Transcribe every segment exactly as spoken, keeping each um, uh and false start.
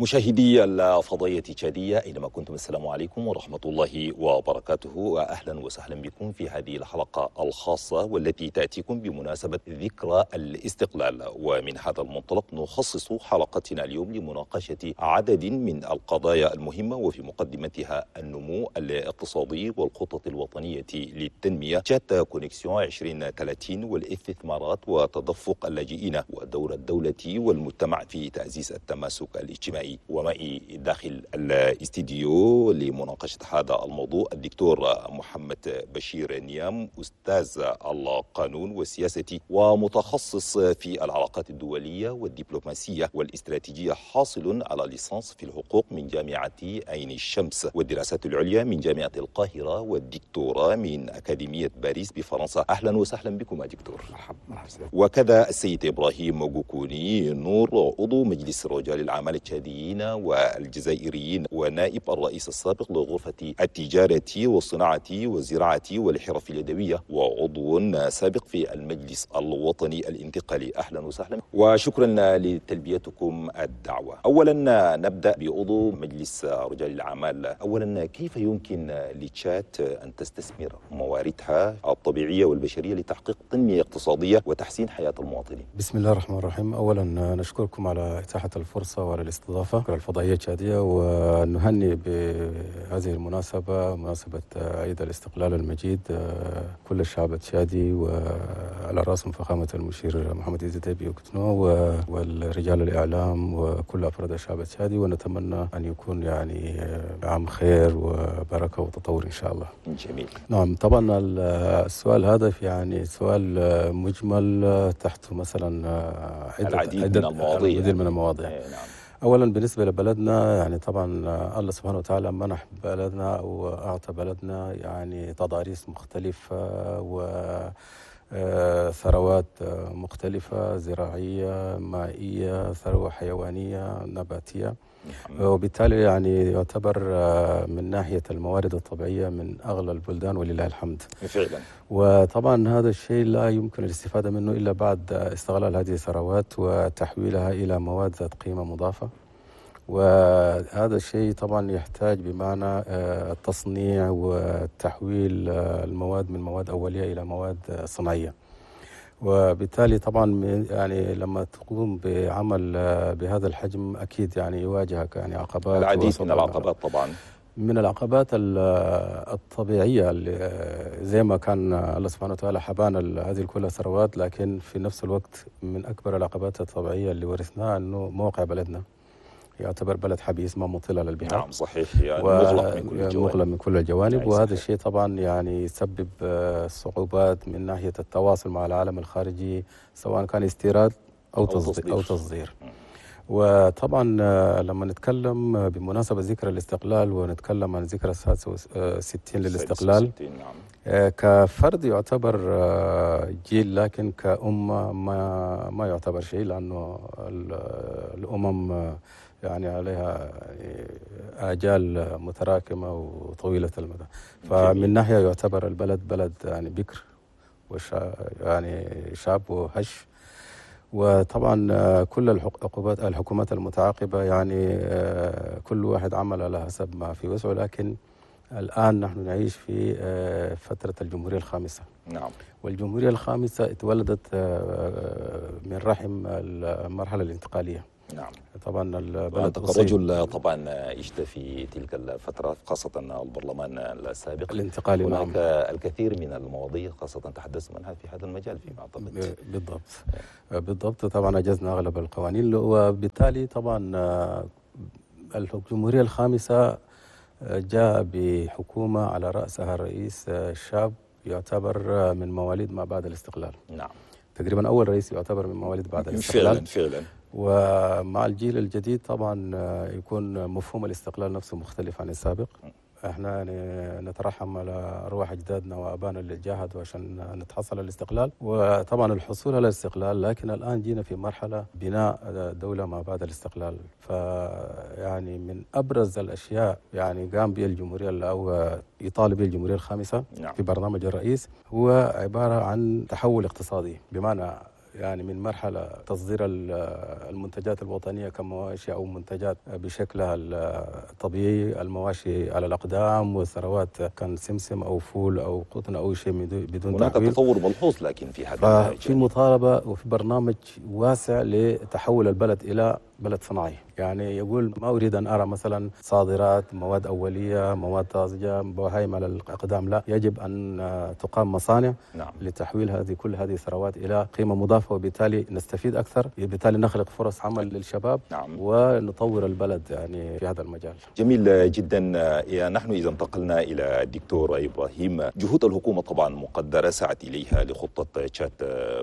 مشاهدي الفضائية التشادية أينما كنتم، السلام عليكم ورحمة الله وبركاته، وأهلا وسهلا بكم في هذه الحلقة الخاصة والتي تأتيكم بمناسبة ذكرى الاستقلال. ومن هذا المنطلق نخصص حلقتنا اليوم لمناقشة عدد من القضايا المهمة، وفي مقدمتها النمو الاقتصادي والخطط الوطنية للتنمية تشاد Connexion ألفين وثلاثين والاستثمارات وتدفق اللاجئين ودور الدولة والمجتمع في تعزيز التماسك الاجتماعي. ومعي داخل الاستديو لمناقشة هذا الموضوع الدكتور محمد بشير نيام، أستاذ القانون والسياسة ومتخصص في العلاقات الدولية والدبلوماسية والاستراتيجية، حاصل على ليسانس في الحقوق من جامعة عين الشمس والدراسات العليا من جامعة القاهرة والدكتوراه من أكاديمية باريس بفرنسا. أهلا وسهلا بكم يا دكتور. مرحبا. مرحبا. وكذا السيد إبراهيم غوكوني نور، عضو مجلس رجال الأعمال التشاديين والجزائريين ونائب الرئيس السابق لغرفة التجارة والصناعة والزراعة والحرف اليدوية وعضو سابق في المجلس الوطني الانتقالي. أهلا وسهلا وشكرا لتلبيتكم الدعوة. أولا نبدأ بعضو مجلس رجال الأعمال. أولا، كيف يمكن لتشاد أن تستثمر مواردها الطبيعية والبشرية لتحقيق تنمية اقتصادية وتحسين حياة المواطنين؟ بسم الله الرحمن الرحيم. أولا نشكركم على إتاحة الفرصة وعلى الاستضافة الفضائية التشادية، ونهني بهذه المناسبة، مناسبة عيد الاستقلال المجيد، كل الشعب التشادي وعلى رأسهم فخامة المشير محمد إدريس ديبي إتنو والرجال الإعلام وكل أفراد الشعب التشادي، ونتمنى أن يكون يعني عام خير وبركة وتطور إن شاء الله. جميل. نعم، طبعا السؤال هذا يعني سؤال مجمل تحته مثلا عدة العديد عدة من المواضيع العديد من المواضيع. نعم. أولا بالنسبة لبلدنا، يعني طبعا الله سبحانه وتعالى منح بلدنا وأعطى بلدنا يعني تضاريس مختلفة وثروات مختلفة، زراعية، مائية، ثروة حيوانية، نباتية، وبالتالي يعني يعتبر من ناحية الموارد الطبيعية من أغلى البلدان ولله الحمد. فعلا. وطبعا هذا الشيء لا يمكن الاستفادة منه إلا بعد استغلال هذه الثروات وتحويلها إلى مواد ذات قيمة مضافة، وهذا الشيء طبعا يحتاج بمعنى التصنيع وتحويل المواد من مواد أولية إلى مواد صناعية. وبالتالي طبعا يعني لما تقوم بعمل بهذا الحجم اكيد يعني يواجهك يعني عقبات، العديد من العقبات. طبعا من العقبات الطبيعية اللي زي ما كان الله سبحانه وتعالى حبانا هذه كلها ثروات، لكن في نفس الوقت من اكبر العقبات الطبيعية اللي ورثناها انه موقع بلدنا يعتبر بلد حبيس، ما مطل على البحار. نعم صحيح، يعني مغلق من كل الجوانب، مغلق من كل الجوانب. وهذا الشيء طبعا يعني يسبب صعوبات من ناحية التواصل مع العالم الخارجي، سواء كان استيراد أو, أو تصدير. أو تصدير. وطبعا لما نتكلم بمناسبة ذكرى الاستقلال ونتكلم عن ذكرى السادسة وستين للاستقلال، نعم. كفرد يعتبر جيل، لكن كأمة ما ما يعتبر شيء، لأنه الأمم يعني عليها آجال متراكمة وطويلة المدى. فمن ناحية يعتبر البلد بلد يعني بكر وشا يعني شاب وهش. وطبعا كل الحكومات الحكومات المتعاقبة يعني كل واحد عمل على حسب ما في وسعه، لكن الآن نحن نعيش في فترة الجمهورية الخامسة. نعم. والجمهورية الخامسة اتولدت من رحم المرحلة الانتقالية. نعم. طبعا البلد كرجل طبعا عشت في تلك الفترة، خاصة البرلمان السابق الانتقالي. هناك نعم. الكثير من المواضيع خاصة تحدثت عنها في هذا المجال فيما أعتقد. بالضبط. بالضبط. طبعا أجزنا أغلب القوانين، وبالتالي طبعا الجمهورية الخامسة جاء بحكومة على رأسها الرئيس الشاب يعتبر من مواليد ما بعد الاستقلال. نعم. تقريبا أول رئيس يعتبر من مواليد بعد الاستقلال. فعلا فعلا. ومع الجيل الجديد طبعا يكون مفهوم الاستقلال نفسه مختلف عن السابق. احنا يعني نترحم على ارواح اجدادنا وابائنا اللي جاهدوا عشان نتحصل على الاستقلال، وطبعا الحصول على الاستقلال، لكن الان جينا في مرحلة بناء دولة ما بعد الاستقلال. فيعني من ابرز الاشياء يعني قام بها الجمهورية او يطالب به الجمهورية الخامسة نعم. في برنامج الرئيس هو عبارة عن تحول اقتصادي، بمعنى يعني من مرحلة تصدير المنتجات الوطنية كمواشي أو منتجات بشكلها الطبيعي، المواشي على الأقدام والثروات كان سمسم أو فول أو قطن أو شيء بدون هناك تحويل. تطور ملحوظ لكن في هذا في مطالبة وفي برنامج واسع لتحول البلد إلى بلد صناعي. يعني يقول ما أريد أن أرى مثلا صادرات مواد أولية، مواد طازجة، بهايم على الأقدام، لا، يجب أن تقام مصانع نعم. لتحويل هذه كل هذه الثروات إلى قيمة مضافة، وبالتالي نستفيد أكثر، وبالتالي نخلق فرص عمل للشباب نعم. ونطور البلد يعني في هذا المجال. جميل جدا. نحن إذا انتقلنا إلى الدكتور إبراهيم، جهود الحكومة طبعا مقدرة سعت إليها لخطة تشاد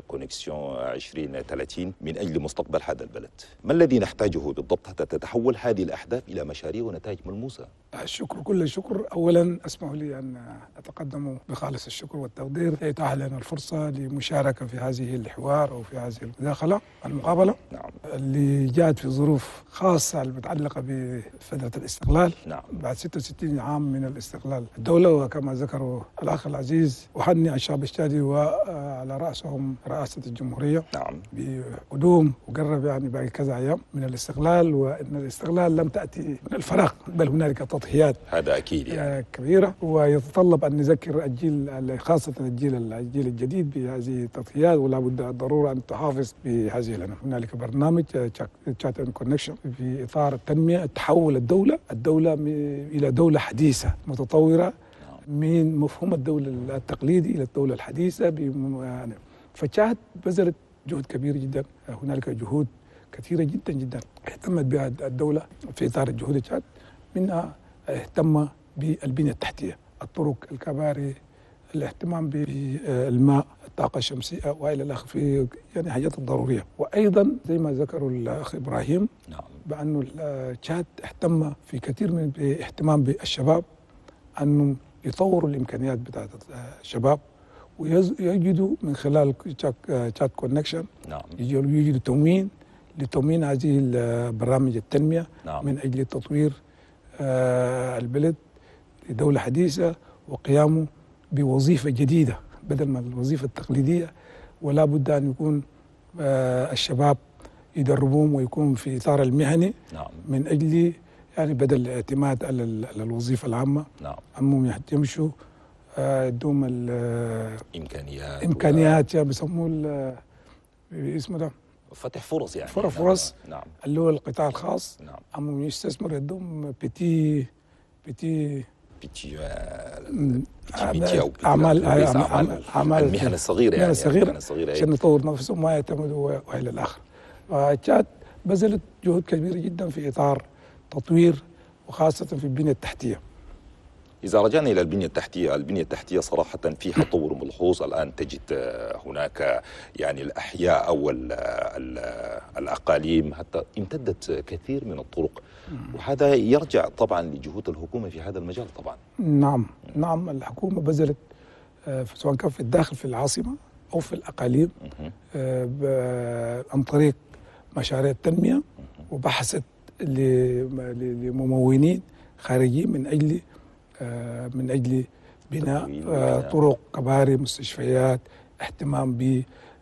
كونكسيون عشرين ثلاثين من أجل مستقبل هذا البلد. ما الذي نحتاجه بالضبط حتى تتحول هذه الأحداث إلى مشاريع ونتائج ملموسة؟ الشكر كل الشكر. أولا أسمح لي أن أتقدم بخالص الشكر والتقدير لإتاحة لنا الفرصة لمشاركة في هذه الحوار أو في هذه المداخلة المقابلة نعم. اللي جاءت في ظروف خاصة المتعلقة بفترة الاستقلال نعم. بعد ستة وستين عام من الاستقلال الدولة، وكما ذكروا الأخ العزيز أهنئ الشعب التشادي وعلى رأسهم رئاسة الجمهورية نعم. بقدوم وقرب يعني باقي كذا أيام من الاستقلال، وأن الاستقلال لم تأتي من الفراغ بل هنالك تضحيات هذا أكيد يعني. كبيرة، ويتطلب أن نذكر الجيل خاصة الجيل الجيل الجديد بهذه التضحيات، ولا بد الضرورة أن تحافظ بهذه. لنا هنالك برنامج تشاد كونكشن في إطار التنمية، تحول الدولة الدولة إلى دولة حديثة متطورة من مفهوم الدولة التقليدي إلى الدولة الحديثة. فتشاد بذلت جهد كبير جدا، هنالك جهود كثيرة جدا جدا اهتمت بها الدولة في إطار الجهود تشاد، منها اهتم بالبنية التحتية، الطرق، الكباري، الاهتمام بالماء، الطاقة الشمسية وإلى آخره، في يعني حاجات الضرورية. وأيضا زي ما ذكروا الأخ إبراهيم نعم. بأنه تشاد اهتم في كثير من اهتمام بالشباب، أنه يطوروا الإمكانيات بتاعت الشباب ويجدوا من خلال تشاد كونكشن نعم. يجدوا تموين لتموين هذه برامج التنمية نعم. من أجل تطوير البلد لدولة حديثة وقيامه بوظيفة جديدة بدل من الوظيفة التقليدية. ولا بد أن يكون الشباب يدربوهم ويكون في إطار المهني نعم. من أجل يعني بدل الاعتماد على الوظيفة العامة نعم. أمهم يمشوا يدوم الإمكانيات إمكانيات و... بيسموه اسمه ده فتح فرص يعني فرص فرص نعم. اللي هو القطاع الخاص نعم. أمهم يستثمر يدوم petit petit petit petit أو أعمال أعمال المهن الصغيرة يعني الصغيرة عشان يطور نفسهم وما يعتمدوا وإلى الآخر. تشاد بذلت جهود كبيرة جدا في إطار تطوير وخاصة في البنية التحتية. إذا رجعنا إلى البنية التحتية، البنية التحتية صراحة فيها تطور ملحوظ. الآن تجد هناك يعني الأحياء أو ال ال الأقاليم حتى امتدت كثير من الطرق، وهذا يرجع طبعا لجهود الحكومة في هذا المجال طبعا. نعم نعم، الحكومة بذلت سواء كان في الداخل في العاصمة أو في الأقاليم عن طريق مشاريع التنمية، وبحثت لممونين خارجيين من أجل من أجل بناء طرق، كباري، مستشفيات، اهتمام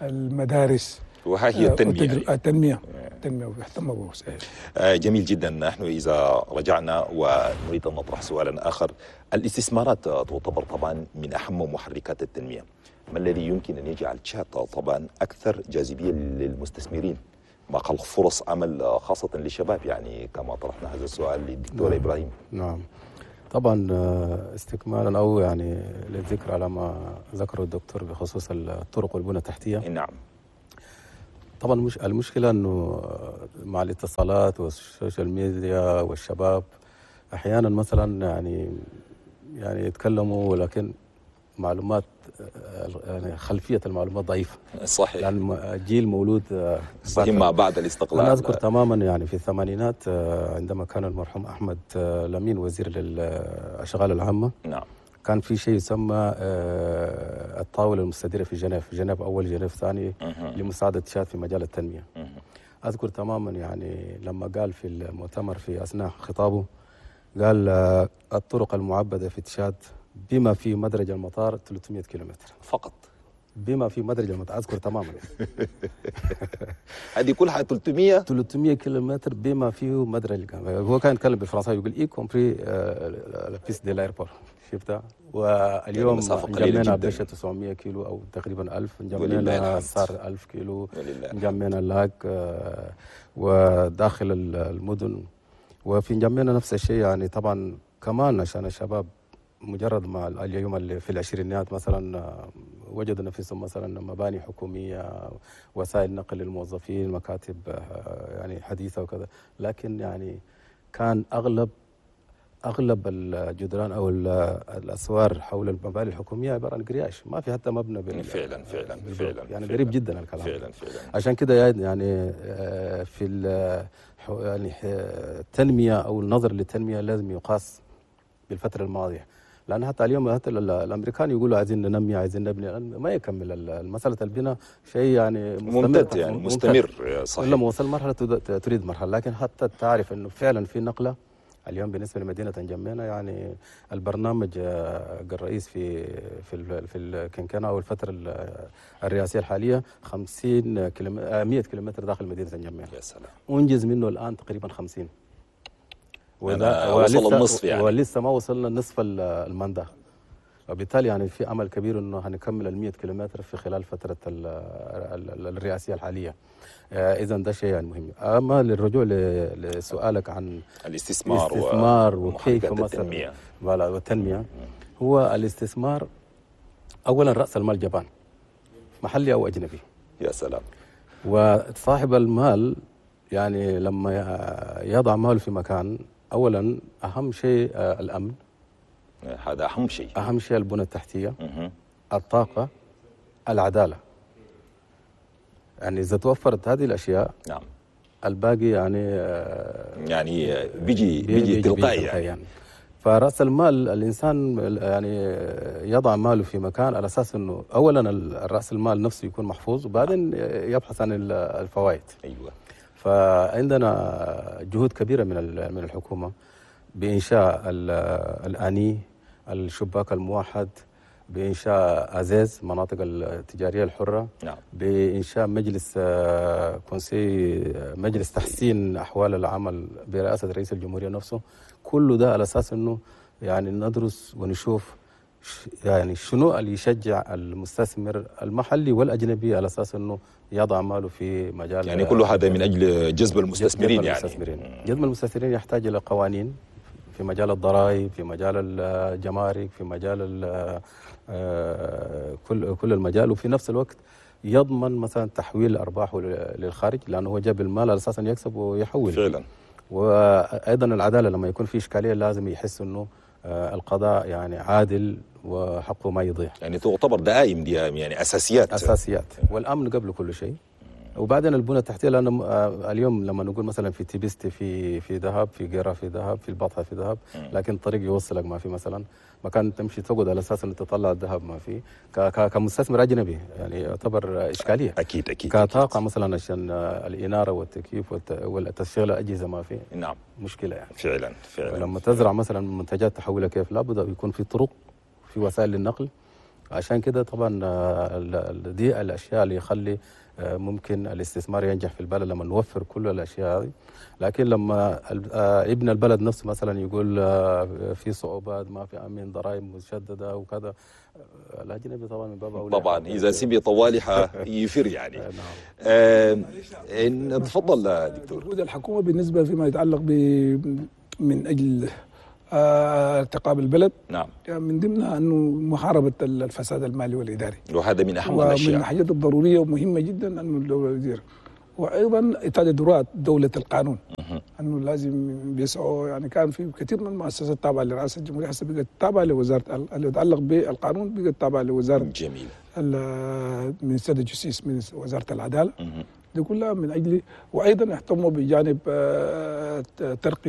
بالمدارس. وها هي التنمية. يعني. التنمية التنمية واهتم به. جميل جدا. نحن إذا رجعنا ونريد أن نطرح سؤالا آخر، الاستثمارات تعتبر طبعا من أهم محركات التنمية. ما الذي يمكن أن يجعل تشاد طبعا أكثر جاذبية للمستثمرين؟ ما خلق فرص عمل خاصة للشباب، يعني كما طرحنا هذا السؤال للدكتور نعم. إبراهيم. نعم طبعا، استكمالا او يعني للذكر على ما ذكره الدكتور بخصوص الطرق والبنى التحتية. نعم طبعا، مش المشكلة انه مع الاتصالات وال social media والشباب احيانا مثلا يعني يعني يتكلموا ولكن معلومات يعني خلفية المعلومات ضعيفة. صحيح، لان جيل مولود صحيح ما بعد الاستقلال. انا اذكر تماما يعني في الثمانينات عندما كان المرحوم احمد لمين وزير للاشغال العامة. نعم، كان في شيء يسمى الطاولة المستديرة في جنيف، جنيف اول جنيف ثاني، لمساعده تشاد في مجال التنمية. اذكر تماما يعني لما قال في المؤتمر في اثناء خطابه قال الطرق المعبده في تشاد بما في مدرج المطار ثلاثمئة كيلومتر فقط، بما في مدرج المطار، اذكر تماما. هذه كلها ثلاثمية ثلاثمية كيلومتر بما فيه مدرج. هو كان يتكلم بالفرنساوي يقول y compris la piste de l'aéroport، شفتها؟ واليوم انجمينا بيشة تسعمية كيلو او تقريبا ألف، انجمينا صار ألف كيلو، انجمينا لاك وداخل المدن، وفي انجمينا نفس الشيء. يعني طبعا كمان عشان الشباب مجرد ما اليوم اللي في العشرينيات مثلا وجدوا نفسهم مثلا مباني حكومية، وسائل نقل للموظفين، مكاتب يعني حديثه وكذا، لكن يعني كان اغلب اغلب الجدران او الاسوار حول المباني الحكومية عبارة عن قرياش، ما في حتى مبنى بال فعلا فعلا فعلا يعني قريب جدا الكلام فعلا فعلا. عشان كده يعني في يعني التنمية او النظر للتنمية لازم يقاس بالفترة الماضية، لان حتى اليوم حتى الامريكان يقولوا عايزين ننمي عايزين نبني، ما يكمل مسالة البناء شيء يعني مستمر، ممتد يعني مستمر صحيح. لما وصل مرحلة تريد مرحلة، لكن حتى تعرف انه فعلا في نقله اليوم بالنسبة لمدينة انجمينا. يعني البرنامج الرئيس في في في الكنكنه او الفترة الرئاسية الحالية خمسين كيلومتر مية كيلومتر داخل مدينة انجمينا. يا سلام. انجز منه الان تقريبا خمسين، وده وصل النصف يعني، ولسه ما وصلنا نصف المنده، وبالتالي يعني في امل كبير انه هنكمل ال مية كيلومتر في خلال فترة الرئاسية الحالية. اذا ده شيء يعني مهم. اما للرجوع لسؤالك عن الاستثمار الاستثمار وكيف مثلا والتنمية، هو الاستثمار اولا راس المال جبان، محلي او اجنبي. يا سلام. وصاحب المال يعني لما يضع ماله في مكان، اولا اهم شيء الامن، هذا اهم شيء، اهم شيء البنى التحتية، الطاقة، العدالة. يعني اذا توفرت هذه الاشياء نعم الباقي يعني يعني بيجي بيجي, بيجي تلقائي يعني. يعني فراس المال الانسان يعني يضع ماله في مكان على اساس انه اولا راس المال نفسه يكون محفوظ، وبعدين يبحث عن الفوائد. ايوه. فعندنا جهود كبيرة من من الحكومة بانشاء الاني، الشباك الموحد، بانشاء ازاز مناطق التجارية الحرة، نعم. بانشاء مجلس كونسي، مجلس تحسين احوال العمل برئاسة رئيس الجمهورية نفسه. كل ده على اساس انه يعني ندرس ونشوف يعني شنو اللي يشجع المستثمر المحلي والاجنبي على اساس انه يضع ماله في مجال، يعني كل هذا من اجل جذب المستثمرين. جذب يعني المستثمرين جذب المستثمرين يحتاج الى قوانين في مجال الضرائب، في مجال الجمارك، في مجال كل كل المجال، وفي نفس الوقت يضمن مثلا تحويل ارباحه للخارج، لانه هو جاب المال على اساس ان يكسب ويحول. فعلا. وايضا العدالة، لما يكون في اشكالية لازم يحس انه القضاء يعني عادل وحقه ما يضيع. يعني تعتبر دعائم دي يعني اساسيات، اساسيات، والامن قبل كل شيء، وبعدين البنى التحتية. لان اليوم لما نقول مثلا في تيبستي في في ذهب، في قيره في ذهب، في البطحه في ذهب، لكن الطريق يوصلك ما في مثلا مكان تمشي تقعد على اساس انه تطلع الذهب ما في. كمستثمر اجنبي يعني يعتبر اشكالية. اكيد اكيد. كطاقه مثلا عشان الاناره والتكييف والتشغيل الاجهزة ما في. نعم. مشكلة يعني. فعلا فعلا. لما تزرع مثلا منتجات تحولها كيف؟ لابد يكون في طرق، في وسائل للنقل. عشان كده طبعا دي الاشياء اللي يخلي ممكن الاستثمار ينجح في البلد لما نوفر كل الاشياء هذه. لكن لما ابن البلد نفسه مثلا يقول في صعوبات، ما في امن، ضرائب مشددة وكذا، الاجنبي طبعا من باب اولى. طبعا اذا سمي طوالي يفر يعني. نعم. آه تفضل دكتور. جهود الحكومة بالنسبة فيما يتعلق ب من اجل ارتقاء البلد، نعم، يعني من ضمنها انه محاربة الفساد المالي والاداري، وهذا من اهم الاشياء، ومن الحاجات الضرورية ومهمة جدا انه الدولة تدير. وايضا اتخاذ دولة القانون، انه لازم بيسعوا. يعني كان في كثير من المؤسسات التابعة لرئاسة الجمهورية هسه بقت تابعه لوزارة اللي يتعلق بالقانون، بقت تابعه لوزارة جميل ministère de justice، من وزارة العدالة. دي كلها من اجل، وايضا يهتموا بجانب ترقيه